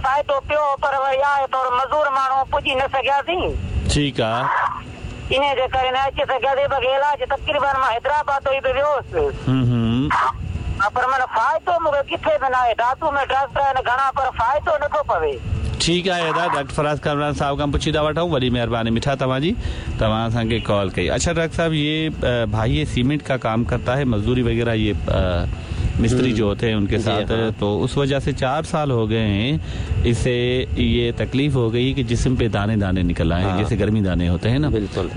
فائدو پيو پر وري آهي ٿورو مزور ماڻهو پڄي نه سگهياسين. ٺيڪ آ. انهي جي ڪري نه اچي سگهياسين باقي علاج تقريبن مان حيدرآباد توئي به ويو هوس. ها پر معنيٰ فائدو مون کي ڪٿي به ناهي دادو ۾ ڊاڪٽر آهن گهڻا پر فائدو نه ٿو پوي. ٺيڪ آهي ادا ڊاڪٽر فراز ڪامران صاحب کان پڇي ٿا وٺون وڏي مهرباني مٺا توهان جي توهان اسان کي ڪال ڪئي اڇا ڊاڪٽر صاحب يي ڀائي يي سيمينٽ ڪا ڪام ڪرتا هي مزدوري وغيره يي مستري جو هوتي هين ان ڪي ساٿ تو اس وجه سي 4 سال هو گئي هين اسي يي تڪليف هو گئي ڪي جسم پي داني داني نڪل آئي هين جيسي گرمي داني هوتي هين نا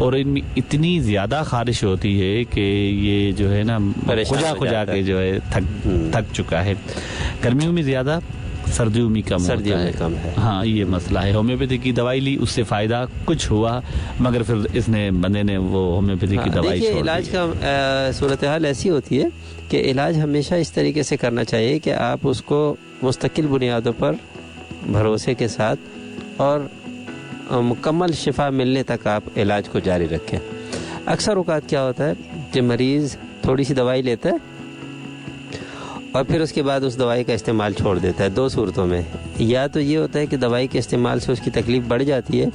اور ان مين اتني زياده خارش هوتي هي ڪي يي جو هي نا خجا خجا ڪي جو هي ٿڪ ٿڪ چڪا هي گرميون مين زياده سرديون مين ڪم هوتا هي ها يي مسئله هي هوميوپيٿي ڪي دوائي لي اس سي فائده ڪجه هوا مگر ڦر اس ني بندي ني وو هوميوپيٿي ڪي دوائي ڇوڙ the. علاج کا صورتحال ايسي هوتي هي ڪي علاج هميشه اس طريقي سي ڪرنا چاهيي ڪي آپ اس ڪو مستقل بنيادون پر ڀروسي ڪي ساٿ اور مڪمل شفا ملني تڪ آپ علاج ڪو جاري رکين. اڪثر اوقات ڪيا هوتا هي ڪي مريض ٿوڙي سي دوائي ليتا هي اور ڦر اس ڪي بعد اس دوائي ڪا استعمال ڇوڙ ديتا هي دو صورتون مين يا تو يي هوتا هي ڪي دوائي ڪي استعمال سي اس ڪي تڪليف بڙه جاتي هي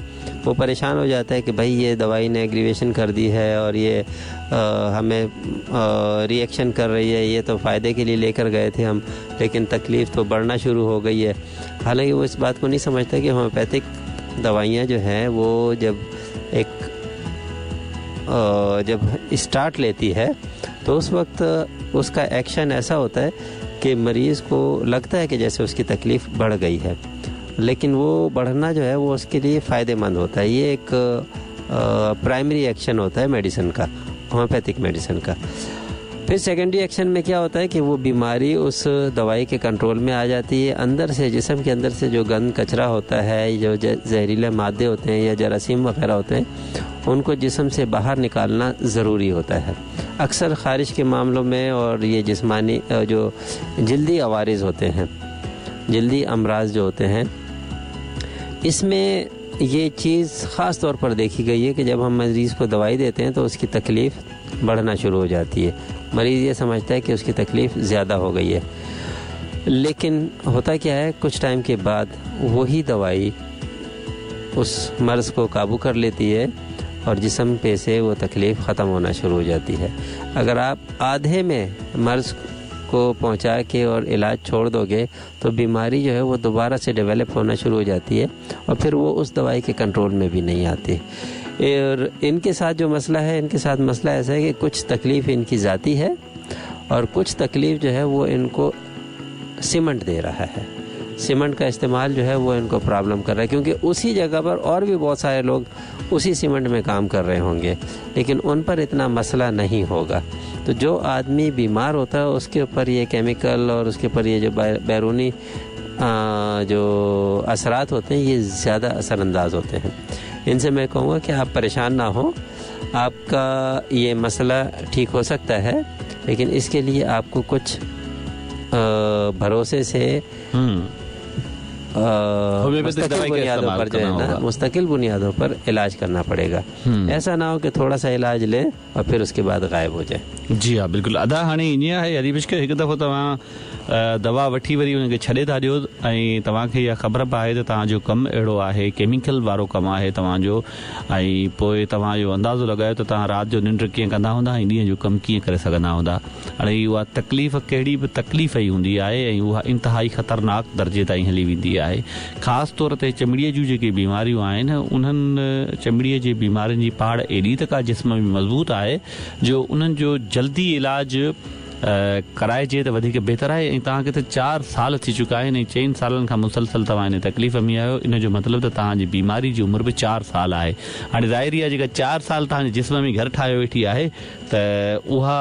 وو پريشان هو جاتا هي ڪي ڀائي يي دوائي ني اگريويشن ڪر the هي اور يي همين ري ايڪشن ڪر رهي هي يي تو فائدي ڪي ليي لي ڪر گئي ٿي هم ليڪن تڪليف تو بڙهنا شروع هو گئي هي حالانڪه وو اس بات ڪو نهين سمجهتا ڪي هوميوپيٿڪ دوائيان جو هين وو جب ايڪ جب اسٽارٽ ليتي هي تو اس وقت اس ڪا ايڪشن ايسا هوتا هي ڪي مريض ڪو لگتا هي ڪي جيسي اس ڪي تڪليف بڙه گئي هي ليڪن وو بڙهنا جو هي وو اس ڪي ليي فائدي مند هوتا هي يي ايڪ پرائمري ايڪشن هوتا هي ميڊيسن ڪا هوميوپيٿڪ ميڊيسن ڪا ڦر سيڪنڊري ايڪشن ۾ ڪيا هوتا هي ڪي وو بيماري اس دوائي ڪي ڪنٽرول ۾ آ جاتي هي اندر سي جسم ڪي اندر سي جو گند ڪچرا هوتا هي جو زهريلي مادي هوتي هين يا جراثيم وغيره هوتي هين ان ڪو جسم سي باهر نڪالنا ضروري هوتا هي اڪثر خارش ڪي معاملو ۾ اور يي جسماني جو جلدي عوارض هوتي هين جلدي امراض جو هوتي هين اس ۾ يي چيز خاص طور پر ديکي گئي هي ڪي جب هم مريض ڪو دوائي ديتي هين تو اس ڪي تڪليف بڙهنا شروع هو جاتي هي مريض يي سمجهتا هي ڪي اس ڪي تڪليف زياده هو گئي هي ليڪن هوتا ڪيا هي ڪجهه ٽائيم ڪي بعد وهي دوائي اس مرض ڪو قابو ڪر ليتي هي اور جسم پي سي وو تڪليف ختم هونا شروع هو جاتي هي اگر آپ آڌي ۾ مرض ڪو پهچا ڪي اور علاج ڇوڙ دوگي تو بيماري جو هي وو دوباره سي ڊيولپ هونا شروع هو جاتي هي اور ڦر وو اس دوائي ڪي ڪنٽرول ۾ ڀي نهين آتي اور ان ڪي ساٿ جو مسئله هي ان ڪي ساٿ مسئله ايسا هي ڪي ڪجهه تڪليف ان ڪي ذاتي هي اور ڪجهه تڪليف جو هي وو ان ڪو سيمنٽ the رها هي سيمنٽ ڪا استعمال جو هي وو ان ڪو پرابلم ڪر رها هي ڪيونڪه اسي جگهه پر اور ڀي بهت ساري لوگ اسي سيمنٽ ۾ ڪام ڪر رهي هونگي ليڪن ان پر اتنا مسئله نهين هوگا تو جو آدمي بيمار هوتا هي اس ڪي اوپر يي ڪيميڪل اور اس ڪي اوپر يي جو بيروني جو اثرات هوتي هين يي زياده اثر انداز هوتي هين ان سي مين ڪهونگا ڪي آپ پريشان نه هو آپ ڪا يي مسئله ٺيڪ هو سڪتا هي ليڪن اس ڪي ليي آپ ڪو ڪجهه ڀروسي سي مستقل بنيادون پر جو هي نا مستقل بنيادون پر علاج ڪرنا پڙي گا ايسا نه هو ڪي ٿوڙا سا علاج لي اور ڦر اس ڪي بعد غائب هو جائي. جي ها بلڪل ادا هاڻي ائين آهي علي بشڪ هڪ دفعو توهان دوا وٺي وري ان کي ڇڏي ٿا ڏيو ۽ توهان کي اها خبر به آهي ته توهان جو ڪم اهڙو آهي ڪيميڪل وارو ڪم آهي توهان جو ۽ پوء توهان اهو اندازو لڳايو ته توهان رات جو ننڊ ڪيئن ڪندا هوندا ۽ ڏينهن جو ڪم ڪيئن ڪري سگهندا هوندا هاڻي اها تڪليف ڪهڙي به تڪليف ئي هوندي آهي ۽ اها انتهائي خطرناڪ درجي تائين هلي ويندي آهي خاص طور تي چمڙيء جون جيڪي بيماريون آهن انهن چمڙيء جي بيمارين جي پاڙ ايڏي ته ڪا جسم ۾ مضبوط آهي جو انهن جو جلدي علاج ڪرائجي ته وڌيڪ بهتر آهي ۽ توهان کي ته چار سال ٿي چڪا آهن ۽ چئن سالن کان مسلسل توهان ان تڪليف ۾ آهيو ان جو مطلب ته توهان جي بيماري جي عمر به چار سال آهي هاڻي ظاهري آهي جيڪا چار سال توهان جي جسم ۾ گهر ٺاهيو ويٺي آهي ته اها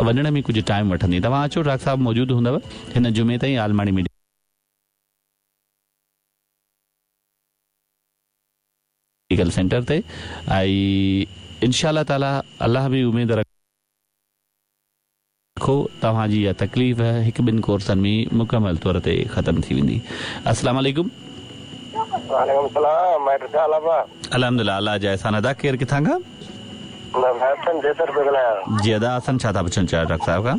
وڃڻ ۾ ڪجهه ٽائيم وٺندي توهان اچو ڊاڪٽر صاحب موجود هوندو هن جمعي تائين عالماڻي ميڊيڪل سينٽر تي ۽ انشاء الله تعالي الله ۾ اميد رکو توهان جي اها تڪليف هڪ ٻن ڪورسن ۾ مڪمل طور تي ختم ٿي ويندي السلام عليڪم. وعليڪم السلام مائٽ ڇا حال آ ڀا. الحمدلله الله جا احسان ادا ڪير ڪٿان کان. مان حسن جيسر پيو ڳالهايان. جي ادا حسن ڇا ٿا پڇڻ چاهيو ڊاڪٽر صاحب کان.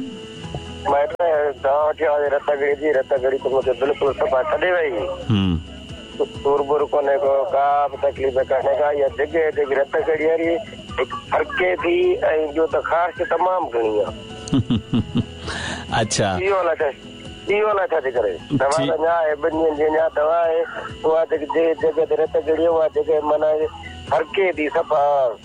مائٽ दवा वठी आयो रत गड़ी जी, रत गड़ी त मूंखे बिल्कुलु सफ़ा छॾे वई। सूर बूर कोन्हे को, का बि तकलीफ़ कान्हे का। इहा जॻह जेकी रत गड़ी वारी हिकु फरके थी ऐं ॿियो त ख़ारिश तमामु घणी आहे। अच्छा, इहो अलाए छा थी करे? दवा त अञा आहे, ॿिनि ॾींहंनि जी अञा दवा आहे। उहा जेकी जॻह ते रत गड़ी उहा जॻह माना फरके थी सफ़ा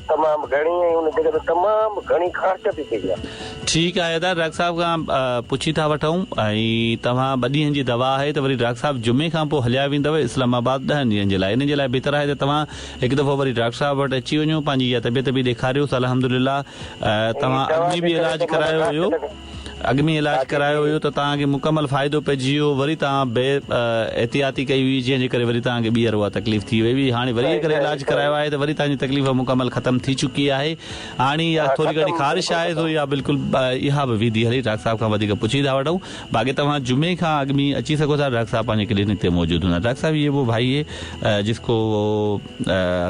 तमामु घणी ऐं उन जॻह ते तमामु घणी ख़ारिश थी थी आहे। ठीकु आहे दादा, डॉक्टर साहिब खां पुछी था वठूं। ऐं तव्हां ॿ ॾींहंनि जी दवा आहे त वरी डॉक्टर साहिब जुमे खां पोइ हलिया वेंदव इस्लामाबाद 10 ॾींहंनि जे लाइ। इन जे लाइ बहितर आहे त तव्हां हिकु दफ़ो वरी डॉक्टर साहिब वटि अची वञो, पंहिंजी इहा तबियत बि ॾेखारियोसि। अल्हम्दुलिल्लाह तव्हां अॻु में बि इलाज करायो हुयो, अॻु में इलाज करायो हुयो त तव्हांखे मुकमल फ़ाइदो पइजी वियो। वरी तव्हां बे एहतियाती कई हुई, जंहिंजे करे वरी तव्हांखे ॿीहर उहा तकलीफ़ थी वई हुई। हाणे वरी अगरि इलाज करायो आहे त वरी तव्हांजी तकलीफ़ मुकमल ख़तमु थी चुकी आहे। हाणे इहा थोरी घणी ख़ारिश आहे तो इहा बिल्कुलु इहा बि वेंदी हली। डॉक्टर साहिब खां वधीक पुछी था वठूं। बाक़ी तव्हां जुमे खां अॻु में अची सघो था, डॉक्टर साहिब पंहिंजे क्लिनिक ते मौजूदु हूंदा। डॉक्टर साहिब, ये वो भाई है जिसको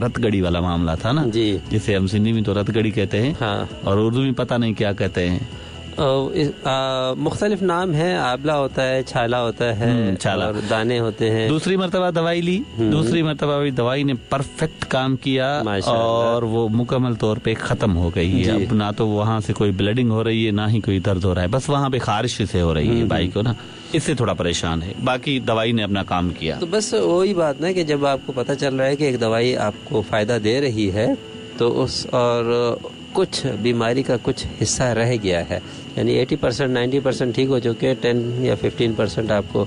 रतगड़ी वाला मामला था ना जी, जिसे हम सिंधी में तो रतगड़ी कहते हैं, हाँ, और उर्दू में पता नहीं क्या कहते हैं। मुख्तलिफ नाम है, आबला होता है, छाला होता है, छाला और दाने होते हैं। दूसरी मरतबा दवाई ली, दूसरी मरतबा भी दवाई ने परफेक्ट काम किया और वो मुकम्मल तौर पे ख़त्म हो गई है। अब ना तो वहाँ से कोई ब्लीडिंग हो रही है, ना ही कोई दर्द हो रहा है, बस वहाँ पे खारिश से हो रही है भाई को ना, इससे थोड़ा परेशान है। बाकी दवाई ने अपना काम किया। तो बस वही बात ना कि जब आपको पता चल रहा है कि एक दवाई आपको फ़ायदा दे रही है तो उस और कुछ बीमारी का कुछ हिस्सा रह गया है, यानी 80% 90% ठीक हो चुके हैं, 10 या 15% आपको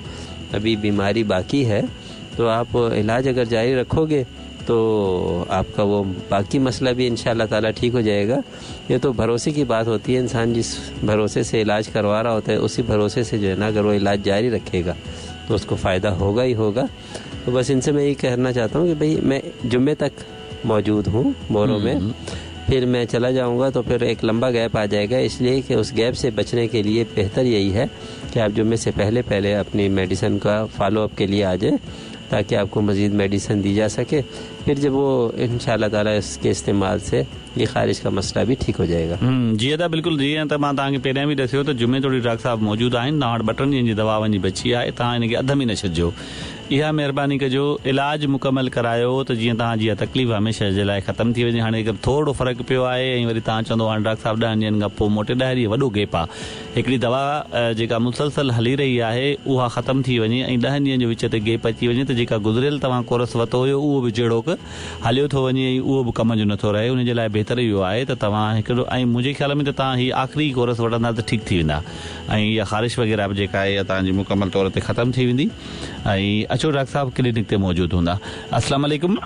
अभी बीमारी बाकी है, तो आप इलाज अगर जारी रखोगे तो आपका वो बाकी मसला भी इंशाअल्लाह ताला ठीक हो जाएगा। ये तो भरोसे की बात होती है, इंसान जिस भरोसे से इलाज करवा रहा होता है उसी भरोसे से जो है ना अगर वो इलाज जारी रखेगा तो उसको फ़ायदा होगा ही होगा। तो बस इनसे मैं ये कहना चाहता हूँ कि भाई मैं जुम्मे तक मौजूद हूँ मोरो में, फिर मैं चला जाऊंगा तो फिर एक लंबा गैप आ जाएगा, इसलिए कि उस गैप से बचने के लिए बेहतर यही है कि आप जुम्मे से पहले पहले अपनी मेडिसिन का फॉलोअप के लिए आ जाए ताकि आपको मज़ीद मेडिसिन दी जा सके। फिर जब वो इंशाअल्लाह ताला इसके इस्तेमाल से ये ख़ारिश का मसला भी ठीक हो जाएगा। जी अदा बिल्कुलु, जीअं त मां तव्हांखे पहिरियां बि ॾसियो त जुमे तोड़ी डॉक्टर साहिबु मौजूदु आहिनि, तव्हां वटि ॿ टे ॾींहंनि जी दवा वञी बची आहे, तव्हां हिनखे अध में न छॾिजो, इहा महिरबानी कजो, इलाज मुकमल करायो त जीअं तव्हांजी इहा तकलीफ़ हमेशह जे लाइ ख़तमु थी वञे। हाणे थोरो फ़र्क़ु पियो आहे ऐं वरी तव्हां चवंदो हाणे डॉक्टर साहिबु 10 ॾींहंनि खां पोइ मोटे 10 ॾींहं वॾो गैप आहे, हिकिड़ी दवा जेका मुसलसल हली रही आहे उहा ख़तमु थी वञे ऐं 10 ॾींहंनि जो विच ते गैप अची वञे त जेका गुज़िरियल तव्हां कोर्स वरितो हुयो उहो बि जहिड़ोक हलियो थो वञे ऐं उहो बि कम जो नथो रहे। उन जे लाइ बहितर इहो आहे त तव्हां हिकिड़ो ऐं मुंहिंजे ख़्याल में त तव्हां हीअ आख़िरी कोर्स वठंदा त ठीकु थी वेंदा ऐं इहा ख़ारिश वग़ैरह बि जेका आहे इहा तव्हांजी मुकमल तौर ते ख़तमु थी वेंदी। ऐं अचो डॉक्टर साहिबु क्लिनिक ते मौजूदु हूंदा। अस्सलाम वालेकुम।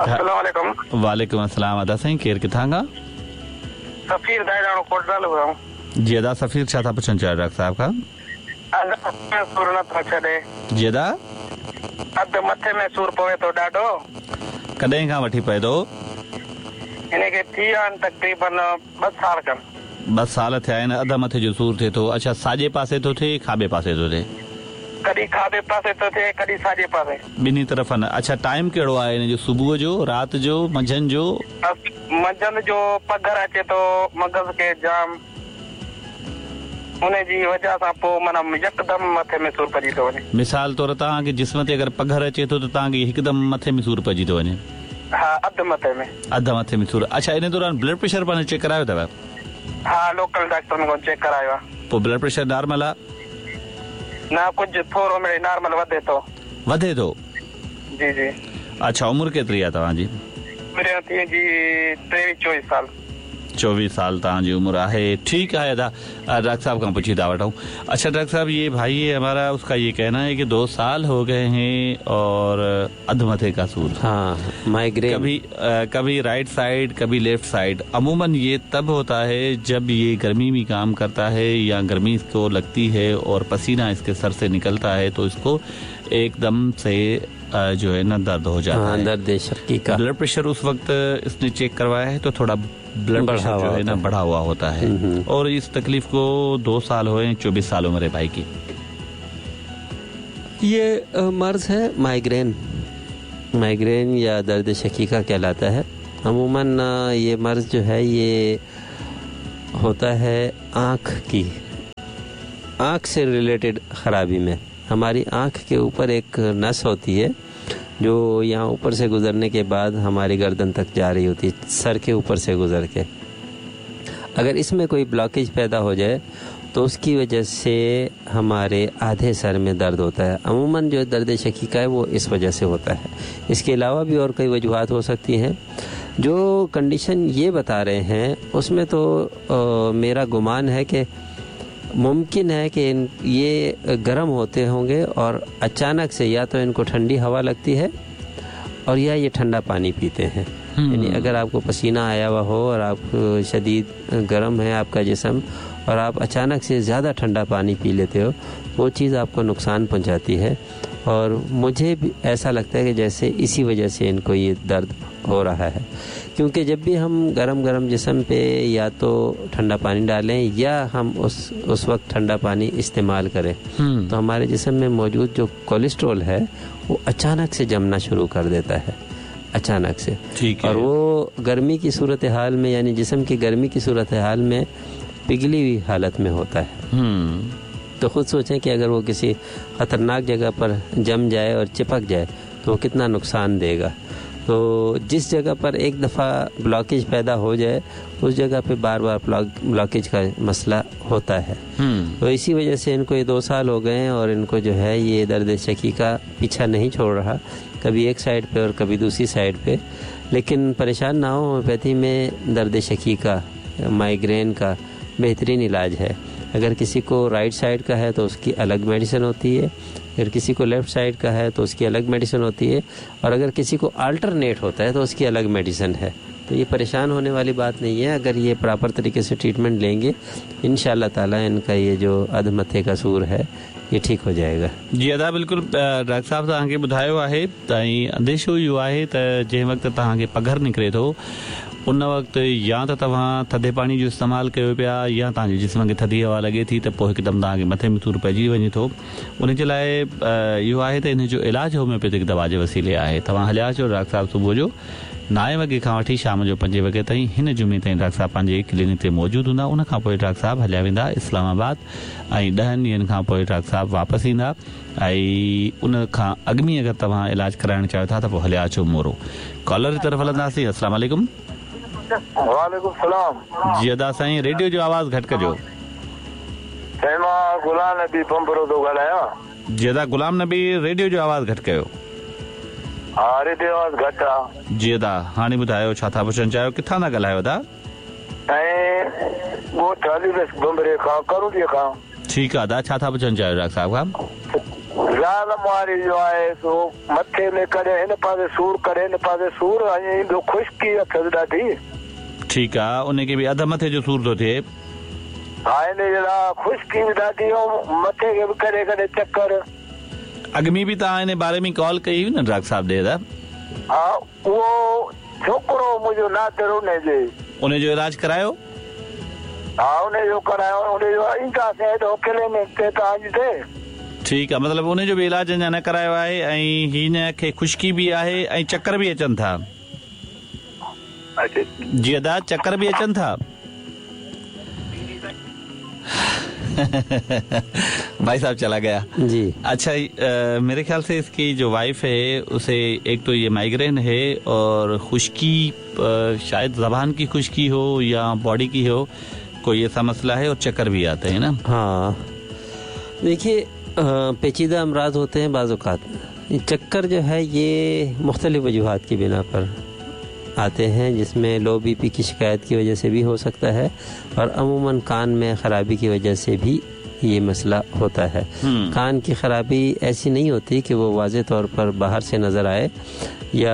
अस्सलाम वालेकुम। वालेकुम अस्सलाम। अदा साईं, केरु किथां खां? सफ़ीर दाइराणो कोटलाल खां। जी अदा सफ़ीर, छा था पुछणु चाहियो डॉक्टर साहिब खां? सूर नथो छॾे। जी अदा, अधु मथे में सूर पवे थो ॾाढो। कॾहिं खां वठी पए थो? हिनखे थी विया आहिनि तक़रीबन 2 साल खनि। 2 साल थिया आहिनि, अधु मथे जो सूर थिए थो। अच्छा, साॼे पासे थो थिए खाॿे पासे थो थिए? कॾहिं खाॿे पासे थो थिए, कॾहिं साॼे पासे, ॿिन्ही तरफ़नि। अच्छा, टाइम कहिड़ो आहे हिन जो? सुबुह जो, राति जो, मंझंदि जो? मंझंदि जो पघर अचे थो मग़ज़ खे जाम, उनजी वजह सां पोइ माना यकदमि मथे में सूर पइजी थो वञे। मिसाल तौर तव्हांखे जिस्म ते अगरि पघर अचे थो त तव्हांखे हिकदमि मथे में सूर पइजी थो वञे? हा, अधु मथे में। अधु मथे में सूर। अच्छा, इन दौरान ब्लड प्रेशर पंहिंजो चेक करायो अथव? हा, लोकल डॉक्टरनि खां चेक करायो आहे। पोइ ब्लड प्रेशर नॉर्मल आहे? न, कुझु थोरो मिड़े नॉर्मल वधे थो। वधे थो? जी जी। अच्छा, उमिरि केतिरी आहे तव्हांजी? उमिरि थी जी 23-24 साल। 24 साल तव्हांजी उमिरि आहे। ठीकु आहे अदा, डॉक्टर साहब खां पुछी था वठूं। अच्छा डॉक्टर साहब, ये भाई है हमारा, उसका ये कहना है कि 2 साल हो गए हैं और अध मथे का सूर। हाँ, माइग्रेन। कभी कभी राइट साइड कभी लेफ्ट साइड। अमूमन ये तब होता है जब ये गर्मी में काम करता है या गर्मी इसको लगती है और पसीना इसके सर से निकलता है तो इसको एकदम से जो है ना दर्द हो जाता है। दर्द शक्की का। ब्लड प्रेशर उस वक्त इसने चेक करवाया है तो थोड़ा ब्लड प्रेशर जो है ना बढ़ा हुआ होता है। और इस तकलीफ को 2 साल हुए, 24 साल उम्र है भाई की। ये मर्ज है माइग्रेन। माइग्रेन या दर्द शकीका कहलाता है। अमूमन ये मर्ज जो है ये होता है आँख की आँख से रिलेटेड ख़राबी में। हमारी आँख के ऊपर एक नस होती है जो यहाँ ऊपर से गुज़रने के बाद हमारी गर्दन तक जा रही होती है, सर के ऊपर से गुज़र के। अगर इसमें कोई ब्लॉकेज पैदा हो जाए तो उसकी वजह से हमारे आधे सर में दर्द होता है। अमूमन जो दर्द शकीका है वो इस वजह से होता है। इसके अलावा भी और कई वजूहात हो सकती हैं। जो कंडीशन ये बता रहे हैं उसमें तो मेरा गुमान है कि मुमकिन है कि ये गर्म होते होंगे और अचानक से या तो इनको ठंडी हवा लगती है और या ये ठंडा पानी पीते हैं। यानी अगर आपको पसीना आया हुआ हो और आप शदीद गर्म है आपका जिस्म और आप अचानक से ज़्यादा ठंडा पानी पी लेते हो, वो चीज़ आपको नुकसान पहुंचाती है। और मुझे भी ऐसा लगता है कि जैसे इसी वजह से इनको ये दर्द हो रहा है, क्योंकि जब भी हम गरम गरम जिस्म पे या तो ठंडा पानी डालें या हम उस वक्त ठंडा पानी इस्तेमाल करें तो हमारे जिस्म में मौजूद जो कोलेस्ट्रॉल है वो अचानक से जमना शुरू कर देता है, अचानक से। ठीक है। और वो गर्मी की सूरत हाल में, यानी जिस्म की गर्मी की सूरत हाल में पिघली हुई हालत में होता है। तो ख़ुद सोचें कि अगर वो किसी ख़तरनाक जगह पर जम जाए और चिपक जाए तो वो कितना नुकसान देगा। तो जिस जगह पर एक दफ़ा ब्लॉकेज पैदा हो जाए उस जगह पे बार बार ब्लॉकेज का मसला होता है। तो इसी वजह से इनको ये 2 साल हो गए हैं और इनको जो है ये दर्द शकीका पीछा नहीं छोड़ रहा, कभी एक साइड पे और कभी दूसरी साइड पे। लेकिन परेशान ना हो, होम्योपैथी में दर्द शकीका, माइग्रेन का बेहतरीन इलाज है। अगर किसी को राइट साइड का है तो उसकी अलग मेडिसिन होती है, अगर किसी को लेफ़्ट साइड का है तो उसकी अलग मेडिसिन होती है, और अगर किसी को अल्टरनेट होता है तो उसकी अलग मेडिसिन है। तो ये परेशान होने वाली बात नहीं है। अगर ये प्रॉपर तरीके से ट्रीटमेंट लेंगे इंशाअल्लाह ताला इनका ये जो अधमथे का सूर है ये ठीक हो जाएगा। जी अदा बिल्कुल डॉक्टर साहब तव्हांखे ॿुधायो आहे त ऐं अंदेशो इहो आहे त जंहिं वक़्तु तव्हांखे पघर निकिरे थो उन वक़्तु या त तव्हां थधे पाणी जो इस्तेमालु कयो पिया या तव्हांजे जिस्म खे थधी हवा लॻे थी त पोइ हिकदमि तव्हांखे मथे में सूर पइजी वञे थो। उन जे लाइ इहो आहे त इन जो इलाज होम्योपैथिक दवा जे वसीले आहे। तव्हां हलिया अचो डॉक्टर साहब सुबुह जो 9 वॻे खां वठी शाम जो 5 वॻे ताईं हिन जुमे ताईं डॉक्टर साहब पंहिंजे क्लिनिक ते मौजूदु हूंदा। उन खां पोइ डॉक्टर साहब हलिया वेंदा इस्लामाबाद ऐं 10 ॾींहनि खां पोइ डॉक्टर साहब वापसि ईंदा ऐं उन खां अॻु में अगरि तव्हां इलाज कराइणु चाहियो था त पोइ हलिया अचो मोरो। कॉलर जी तरफ़ हलंदासीं। अस्सलाम वालेकुम। वालेकुम सलाम। जी अदा साईं रेडियो जो आवाज़ घटि कजो। साईं मां गुलाम नबी पंबरो थो ॻाल्हायां। जी अदा गुलाम नबी रेडियो जो आवाज़ घटि कयो। हा रेडियो आवाज़ घटि आहे। जी अदा हाणे ॿुधायो छा था पुछणु चाहियो, किथां था ॻाल्हायो अदा? साईं ॻोठ अली बख़्श बंबरे खां, करूड़ीअ खां। ठीकु आहे अदा, छा था पुछणु चाहियो डॉक्टर साहब खां? ज़ाल मुआरी जो आहे सो मथे में कॾहिं हिन पासे सूर कॾहिं हिन पासे सूर ऐं ईंदो ख़ुश्की अथसि ॾाढी। ठीकु आहे, उनखे बि अध मथे जो सूर थो थिए। हा इन जे लाइ ख़ुश्की बि ॾाढी ऐं मथे खे बि कॾहिं कॾहिं चकर। अॻु में बि तव्हां इन बारे में कॉल कई हुई न डॉक्टर साहब ॾे? हा उहो छोकिरो मुंहिंजो नादर उनजे उनजो इलाज करायो? हा उनजो करायो, उनजो ईंदासीं हेॾो क्लिनिक ते तव्हांजी ते। ठीकु आहे, मतिलबु उनजो बि इलाज अञा न करायो आहे ऐं हिन खे ख़ुश्की बि आहे ऐं चकर बि अचनि था। जी अदा चकर बि अचनि था? भाई साहब चला गया जी। अच्छा मेरे ख्याल से इसकी जो वाइफ है उसे एक तो ये माइग्रेन है और खुश्की, शायद ज़बान की खुश्की हो या बॉडी की हो, कोई ऐसा मसला है और चक्कर भी आते हैं ना। हाँ देखिए पेचीदा अमराज होते हैं बाज़ औक़ात। चक्कर जो है ये मुख्तलिफ़ वजूहात की बिना पर आते हैं, जिसमें लो बीपी की शिकायत की वजह से भी हो सकता है और अमूमन कान में ख़राबी की वजह से भी ये मसला होता है। कान की ख़राबी ऐसी नहीं होती कि वो वाज़े तौर पर बाहर से नज़र आए या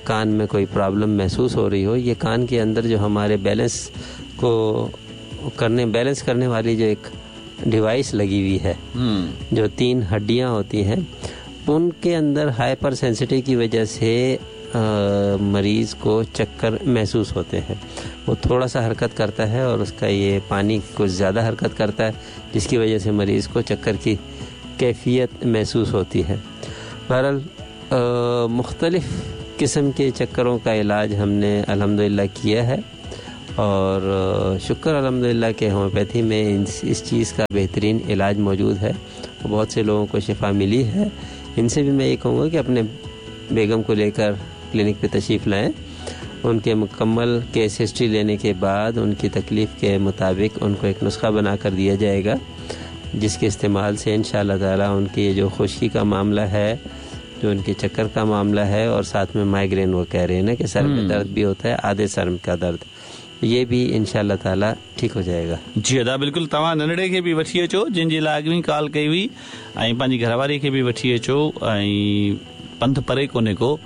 कान में कोई प्रॉब्लम महसूस हो रही हो। ये कान के अंदर जो हमारे बैलेंस को करने बैलेंस करने वाली जो एक डिवाइस लगी हुई है, जो 3 हड्डियाँ होती हैं, उनके अंदर हाइपर सेंसिटिव की वजह से मरीज़ को चक्कर महसूस होते हैं। वो थोड़ा सा हरकत करता है और उसका ये पानी कुछ ज़्यादा हरकत करता है, जिसकी वजह से मरीज़ को चक्कर की कैफियत महसूस होती है। बहरहाल मुख्तलिफ़ किस्म के चक्करों का इलाज हमने अल्हम्दुलिल्लाह किया है और शुक्र अल्हम्दुलिल्लाह कि होम्योपैथी में इस चीज़ का बेहतरीन इलाज मौजूद है, बहुत से लोगों को शिफा मिली है। इनसे भी मैं ये कहूँगा कि अपने बेगम को लेकर क्लिनिक पे तशरीफ़ लाएँ, उनके मुकम्मल केस हिस्ट्री लेने के बाद उनकी तकलीफ़ के मुताबिक उनको एक नुस्खा बना कर दिया जाएगा, जिसके इस्तेमाल से इंशाअल्लाह ताला उनकी जो खुश्की का मामला है, जो उनके चक्कर का मामला है, और साथ में माइग्रेन वो कह रहे हैं ना कि सर में दर्द भी होता है, आधे सर का दर्द, ये भी इंशाअल्लाह ताला ठीक हो जाएगा। जी अदा बिल्कुल, तव्हां नंढड़े खे बि वठी अचो जिन जे लाइ अॻु कॉल कई हुई, ऐं पंहिंजी घरवारी खे बि वठी अचो, ऐं पंधु परे कोन्हे को,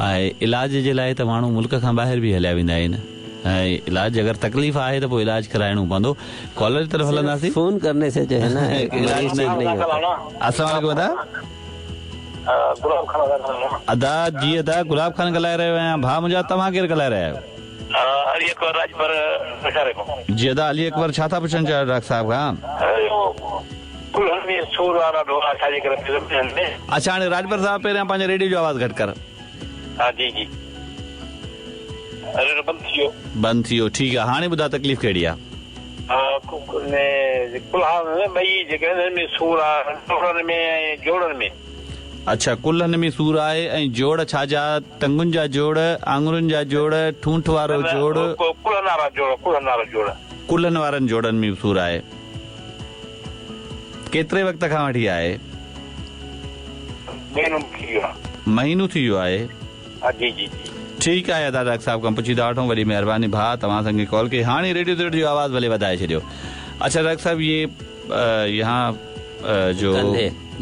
ऐं इलाज जे लाइ त माण्हू मुल्क खां ॿाहिरि बि हलिया वेंदा आहिनि, ऐं इलाज अगरि तकलीफ़ आहे त पोइ इलाज कराइणो पवंदो। कॉलर जी तरफ़ हलंदासीं, फोन करने से जो है ना इलाज नहीं होता। अस्सलाम वालेकुम अदा। गुलाब खान अदा। जी अदा, गुलाब खान ॻाल्हाए रहियो आहियां। भाउ मुंहिंजा, तव्हां केरु ॻाल्हाए रहिया आहियो? अली अकबर राजभर। जी अदा, अली अकबर, छा था पुछणु चाहियो डॉक्टर साहब खां? अच्छा, हाणे राजभर साहब पहिरियां पंहिंजे रेडियो जो आवाज़ घटि कर। हा जी जी, अरे बंदि थी वियो, बंदि थी वियो, ठीकु आहे। हाणे ॿुधाए तकलीफ़ कहिड़ी आहे? सूर आहे जोड़नि में ऐं जोड़नि में। अच्छा, कुल्हनि में सूर आहे ऐं जोड़ छा जा? टंगुनि जा जोड़, आङुरुनि जा जोड़, ठूंठ वारो जोड़? कुल्हनि वारा जोड़, कुल्हनि वारा जोड़, कुल्हनि वारनि जोड़नि में सूर आहे। केतिरे वक़्त खां वठी आहे? महीनो थी वियो आहे। महीनो थी वियो आहे? जी जी जी, ठीकु आहे अदा, डॉक्टर साहब खां पुछी था वठूं। वॾी महिरबानी भाउ, तव्हां असांखे कॉल कई। हाणे रेडियो ते जो आवाज़ भले वधाए छॾियो। अच्छा डॉक्टर साहब, ये यहाँ जो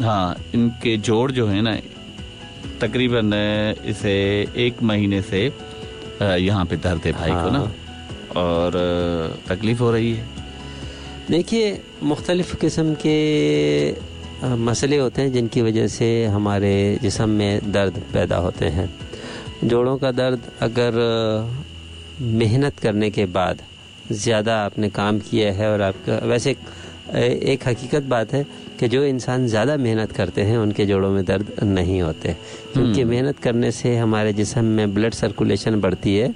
हाँ इनके जोड़ जो है ना, तकरीबन इसे 1 महीने से यहाँ पे दर्द है भाई को ना, और तकलीफ हो रही है। देखिए, मुख्तलिफ़ किस्म के मसले होते हैं जिनकी वजह से हमारे जिस्म में दर्द पैदा होते हैं। जोड़ों का दर्द अगर मेहनत करने के बाद ज़्यादा आपने काम किया है, और आपका वैसे एक हकीकत बात है कि जो इंसान ज़्यादा मेहनत करते हैं उनके जोड़ों में दर्द नहीं होते, क्योंकि मेहनत करने से हमारे जिस्म में ब्लड सर्कुलेशन बढ़ती है,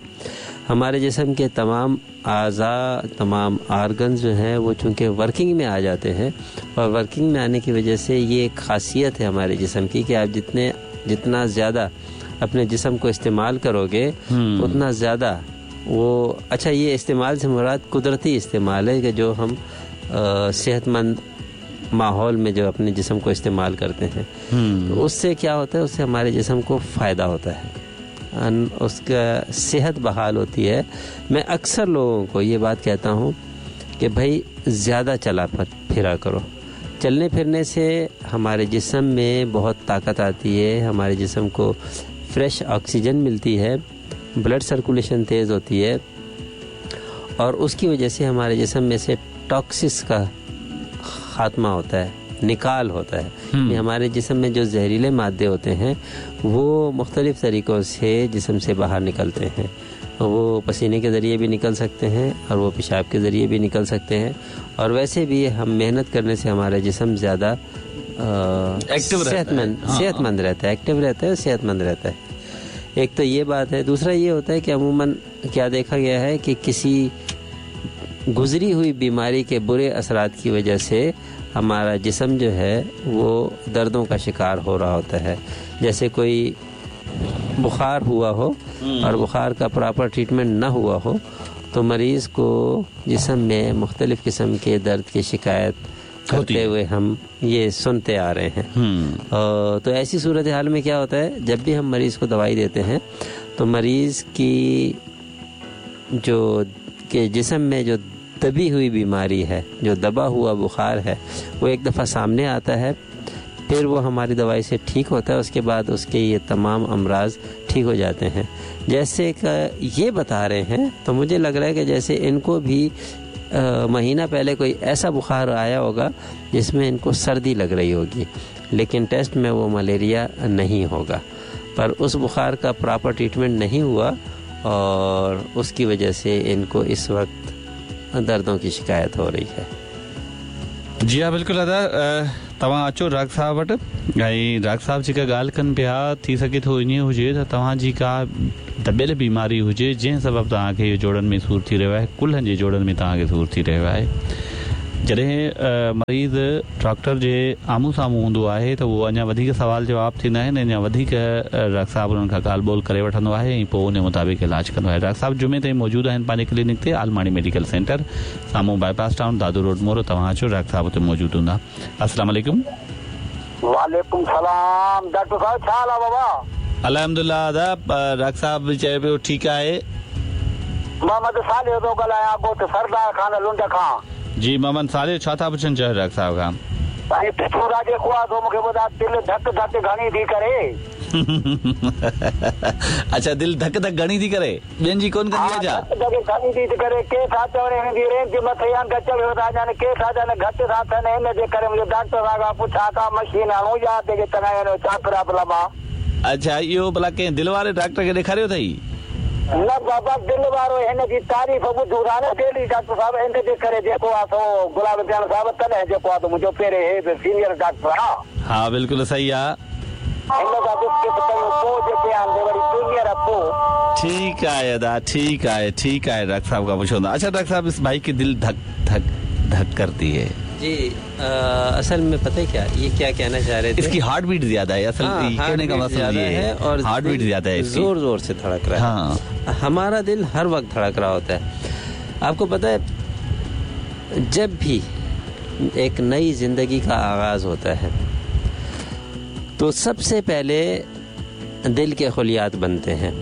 हमारे जिस्म के तमाम आज़ा, तमाम आर्गन्स जो हैं वो चूँकि वर्किंग में आ जाते हैं, और वर्किंग में आने की वजह से ये एक ख़ासियत है हमारे जिस्म की कि आप जितना ज़्यादा अपने जिस्म को इस्तेमाल करोगे उतना ज़्यादा वो अच्छा, ये इस्तेमाल से मुराद कुदरती इस्तेमाल है कि जो हम सेहतमंद माहौल में जो अपने जिस्म को इस्तेमाल करते हैं, तो उससे क्या होता है, उससे हमारे जिस्म को फ़ायदा होता है, उसका सेहत बहाल होती है। मैं अक्सर लोगों को ये बात कहता हूँ कि भाई ज़्यादा चला फिरा करो, चलने फिरने से हमारे जिस्म में बहुत ताकत आती है, हमारे जिस्म को फ्रेश ऑक्सीजन मिलती है, ब्लड सर्कुलेशन तेज़ होती है, और उसकी वजह से हमारे जिस्म में से टॉक्सिस का खात्मा होता है, निकाल होता है। हमारे जिस्म में जो जहरीले मादे होते हैं वो मुख्तलिफ़ तरीक़ों से जिस्म से बाहर निकलते हैं, वो पसीने के ज़रिए भी निकल सकते हैं और वो पेशाब के ज़रिए भी निकल सकते हैं, और वैसे भी हम मेहनत करने से हमारा जिस्म ज़्यादा सेहतमंद रहता है, एक्टिव रहता है, सेहतमंद रहता है। एक तो ये बात है। दूसरा ये होता है कि अमूमन क्या देखा गया है कि किसी गुज़री हुई बीमारी के बुरे असरात की वजह से हमारा जिस्म जो है वो दर्दों का शिकार हो रहा होता है। जैसे कोई बुखार हुआ हो और बुखार का प्रॉपर ट्रीटमेंट ना हुआ हो तो मरीज़ को जिस्म में मुख्तलिफ़ किस्म के दर्द की शिकायत करते हुए हम ये सुनते आ रहे हैं। तो ऐसी सूरत हाल में क्या होता है, जब भी हम मरीज़ को दवाई देते हैं तो मरीज़ की जो के जिस्म में जो दबी हुई बीमारी है, जो दबा हुआ बुखार है, वो एक दफ़ा सामने आता है, फिर वो हमारी दवाई से ठीक होता है, उसके बाद उसके ये तमाम अमराज ठीक हो जाते हैं। जैसे कि ये बता रहे हैं तो मुझे लग रहा है कि जैसे इनको भी महीना पहले कोई ऐसा बुखार आया होगा जिसमें इनको सर्दी लग रही होगी, लेकिन टेस्ट में वो मलेरिया नहीं होगा, पर उस बुखार का प्रॉपर ट्रीटमेंट नहीं हुआ और उसकी वजह से इनको इस वक्त दर्दों की शिकायत हो रही है। जी हाँ बिल्कुल अदा, तव्हां अचो डॉक्टर साहब वटि ऐं डॉक्टर साहब जेका ॻाल्हि कनि पिया, थी सघे थो ईअं हुजे त तव्हांजी का दॿियल बीमारी हुजे जंहिं सबबु तव्हांखे इहो जोड़नि में सूर थी रहियो आहे, कुल्हनि जे जोड़नि में तव्हांखे सूर थी रहियो आहे। जॾहिं मरीज़ डॉक्टर जे आम्हूं साम्हूं हूंदो आहे त उहो अञा वधीक सवाल जवाब थींदा आहिनि, अञा वधीक डॉक्टर साहब उन्हनि खां ॻाल्हि ॿोल करे वठंदो आहे ऐं पोइ उन मुताबिक़ इलाज कंदो आहे। डॉक्टर साहब जुमे ताईं मौजूदु आहिनि पंहिंजे क्लिनिक ते, आलमाणी मेडिकल सेंटर, साम्हूं बाईपास टाउन, दादू रोड, मोरो। तव्हां अचो, डॉक्टर साहब हुते मौजूदु हूंदा। अस्सलाम वालेकुम। वालेकुम सलाम। डॉक्टर साहब छा हाल आहे बाबा? अल्हम्दुलिल्लाह अदा, डॉक्टर साहब बि चए पियो ठीकु आहे। मोहम्मद सालिह थो ॻाल्हायां, ॻोठ सरदार खान लुंड खां। जी मोहम्मद सालिह, छा था पुछनि चाहो डॉक्टर साहब खां? साईं पिथूरा जेको आहे सो मूंखे ॿुधाए, दिलि धक धक घणी थी करे। अच्छा, दिलि धक धक घणी थी करे, ॿियनि जी कोन कंदी आहे छा? धक धक घणी थी करे, के था चवनि हिन जी रेंज मथे या घटि था वञनि, के था चवनि घटि था थियनि, हिन जे करे मुंहिंजो डॉक्टर साहब खां पुछां का मशीन आणूं या जेके चङा छा प्रॉब्लम आहे? अच्छा, इहो भला कंहिं दिलि वारे डॉक्टर खे ॾेखारियो अथई? न बाबा, दिलि वारो हिन जी तारीफ़ ॿुधूं था न डेली डॉक्टर साहब, हिन जे करे जेको आहे सो गुलाब जान साहब, तॾहिं जेको आहे मुंहिंजो पहिरें हे बि सीनियर डॉक्टर आहे। हा बिल्कुलु सही आहे। हिन खां डिस्कस कयूं पोइ जेके आहिनि वरी जूनियर पोइ। ठीकु आहे अदा, ठीकु आहे, ठीकु आहे। डॉक्टर साहब खां पुछो। अच्छा डॉक्टर साहब, इस भाई की दिल धक धक धक करती है। जी असल में पता है क्या, ये क्या कहना चाह रहे थे, इसकी हार्ट बीट ज्यादा है। असल कहने का मसला ये है, और हार्ट बीट ज्यादा है, जोर जोर से धड़क रहा है। हाँ। हमारा दिल हर वक्त धड़क रहा होता है। आपको पता है, जब भी एक नई जिंदगी का आगाज होता है तो सबसे पहले दिल के खुलियात बनते हैं,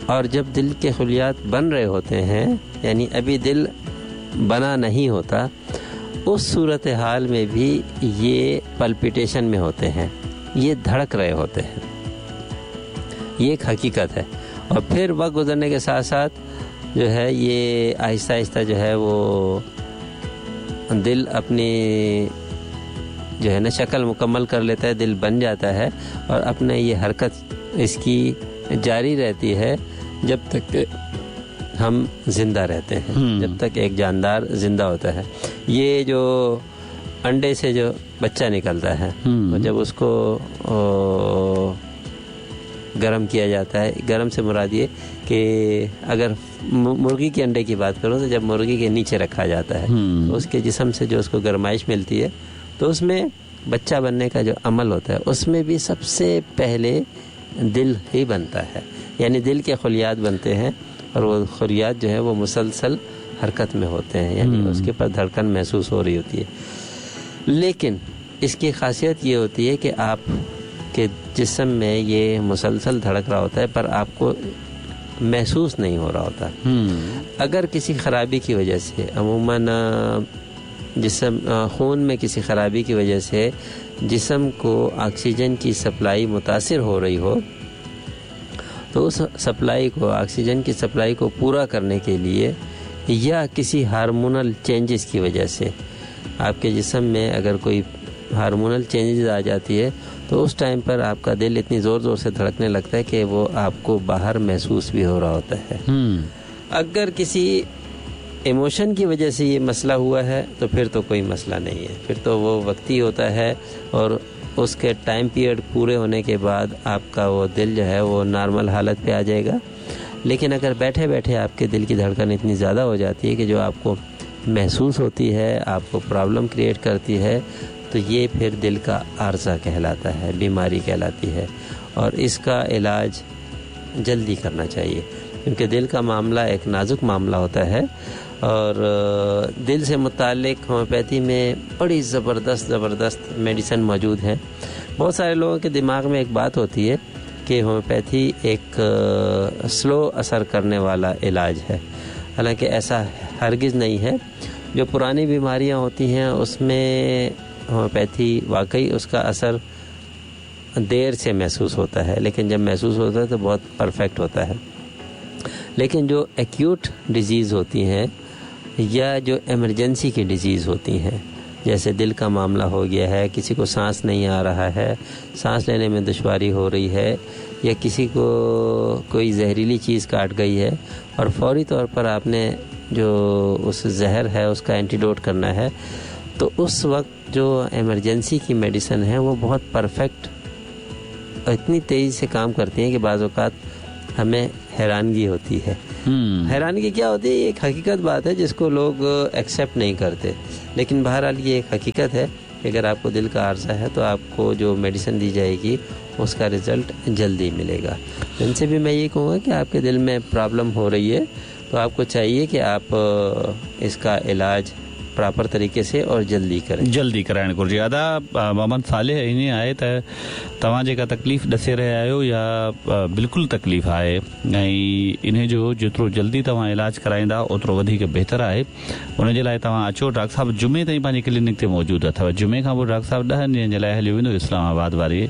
और जब दिल के खुलियात बन रहे होते हैं, यानी अभी दिल बना नहीं होता, उस सूरत हाल में भी ये पल्पिटेशन में होते हैं, ये धड़क रहे होते हैं, ये एक हकीकत है। और फिर वक्त गुजरने के साथ साथ जो है ये आहिस्ता आहिस्ता जो है वो दिल अपनी जो है ना शक्ल मुकम्मल कर लेता है, दिल बन जाता है, और अपने ये हरकत इसकी जारी रहती है जब तक हम जिंदा रहते हैं, जब तक एक जानदार जिंदा होता है। ये जो अंडे से जो बच्चा निकलता है, तो जब उसको गर्म किया जाता है, गर्म से मुराद ये कि अगर मुर्गी के अंडे की बात करूँ तो जब मुर्गी के नीचे रखा जाता है तो उसके जिस्म से जो उसको गर्माइश मिलती है, तो उसमें बच्चा बनने का जो अमल होता है उसमें भी सबसे पहले दिल ही बनता है, यानी दिल के खुलियात बनते हैं, और वो खुलियात जो है वो मुसलसल हरकत में होते हैं, यानी उसके पर धड़कन महसूस हो रही होती है। लेकिन इसकी खासियत ये होती है कि आपके जिस्म में ये मुसलसल धड़क रहा होता है पर आपको महसूस नहीं हो रहा होता। अगर किसी ख़राबी की वजह से, अमूमन जिस्म खून में किसी ख़राबी की वजह से जिस्म को ऑक्सीजन की सप्लाई मुतासिर हो रही हो, तो उस सप्लाई को, ऑक्सीजन की सप्लाई को पूरा करने के लिए या किसी हार्मोनल चेंजेस की वजह से आपके जिस्म में अगर कोई हार्मोनल चेंजेस आ जाती है तो उस टाइम पर आपका दिल इतनी ज़ोर ज़ोर से धड़कने लगता है कि वो आपको बाहर महसूस भी हो रहा होता है। अगर किसी इमोशन की वजह से ये मसला हुआ है तो फिर तो कोई मसला नहीं है, फिर तो वो वक्ती होता है और उसके टाइम पीरियड पूरे होने के बाद आपका वो दिल जो है वो नॉर्मल हालत पे आ जाएगा। लेकिन अगर बैठे बैठे आपके दिल की धड़कन इतनी ज़्यादा हो जाती है कि जो आपको महसूस होती है, आपको प्रॉब्लम क्रिएट करती है, तो ये फिर दिल का आर्जा कहलाता है, बीमारी कहलाती है, और इसका इलाज जल्दी करना चाहिए क्योंकि दिल का मामला एक नाजुक मामला होता है। और दिल से मुतालिक होम्योपैथी में बड़ी ज़बरदस्त ज़बरदस्त मेडिसिन मौजूद है। बहुत सारे लोगों के दिमाग में एक बात होती है कि होम्योपैथी एक स्लो असर करने वाला इलाज है, हालांकि ऐसा हरगिज़ नहीं है। जो पुरानी बीमारियां होती हैं उसमें होम्योपैथी वाकई उसका असर देर से महसूस होता है, लेकिन जब महसूस होता है तो बहुत परफेक्ट होता है। लेकिन जो एक्यूट डिज़ीज़ होती हैं या जो इमरजेंसी की डिज़ीज़ होती हैं, जैसे दिल का मामला हो गया है, किसी को सांस नहीं आ रहा है, सांस लेने में दुश्वारी हो रही है, या किसी को कोई जहरीली चीज़ काट गई है और फौरी तौर पर आपने जो उस जहर है उसका एंटीडोट करना है, तो उस वक्त जो इमरजेंसी की मेडिसिन है वो बहुत परफेक्ट, इतनी तेज़ी से काम करती हैं कि बाज़ औक़ात हमें हैरानगी होती है। हैरानगी क्या होती है, ये एक हकीकत बात है जिसको लोग एक्सेप्ट नहीं करते, लेकिन बहरहाल ये एक हकीकत है कि अगर आपको दिल का आर्जा है तो आपको जो मेडिसिन दी जाएगी उसका रिज़ल्ट जल्दी मिलेगा। इनसे भी मैं ये कहूँगा कि आपके दिल में प्रॉब्लम हो रही है तो आपको चाहिए कि आप इसका इलाज प्रॉपर तरीके से और जल्दी करें, जल्दी कराइणु घुरिजे। अदा मोहम्मद सालेह ईअं आहे त तव्हां जेका तकलीफ़ ॾसे रहिया आहियो या बिल्कुलु तकलीफ़ आहे ऐं इन जो जेतिरो जल्दी तव्हां इलाज कराईंदा ओतिरो वधीक बहितर आहे। उन जे लाइ तव्हां अचो, डॉक्टर साहिबु जुमे ताईं पंहिंजे क्लिनिक ते मौजूदु अथव। जुमे खां पोइ डॉक्टर साहिबु 10 ॾींहनि जे लाइ हलियो वेंदो इस्लामाबाद वारी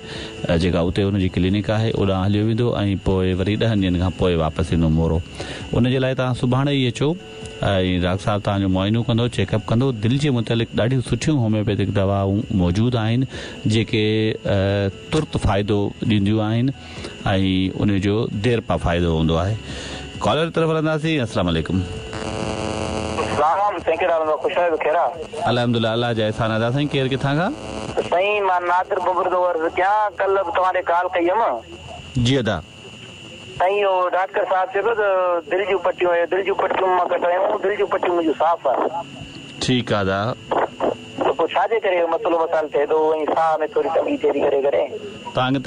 जेका उते हुनजी क्लिनिक आहे ओॾां हलियो वेंदो ऐं पोइ वरी 10 ॾींहनि खां पोइ वापसि ईंदो मोरो। उन जे लाइ तव्हां सुभाणे ई अचो ऐं डॉक्टर साहिबु तव्हांजो मुआइनो कंदो, चेकअप कंदो। दिलि जे मुतालिक़ ॾाढियूं सुठियूं होम्योपैथिक दवाऊं मौजूदु आहिनि जेके तुर्त फ़ाइदो ॾींदियूं आहिनि ऐं उन जो देरि पा फ़ाइदो हूंदो आहे। कॉलर तरफ़ हलंदासीं। अस्सलाम वालेकुम। अल्हम्दुलिल्लाह, अलाह जा एहसान अदा। साईं केरु किथां खां? साईं मां नादिर बबुर थो अर्ज़ु कयां, कल्ह बि तव्हां ॾे कॉल कई हुयमि। जी अदा। साईं उहो डॉक्टर साहिबु चए पियो त दिलि जूं पटियूं, दिलि जूं पटियूं मां कटायूं, दिलि जूं पटियूं मुंहिंजूं साफ़ आहिनि। ठीकु आहे अदा। त पोइ छाजे करे मसइलो मसाइल थिए थो ऐं साह में थोरी तंगी थिए थी करे करे तव्हांखे?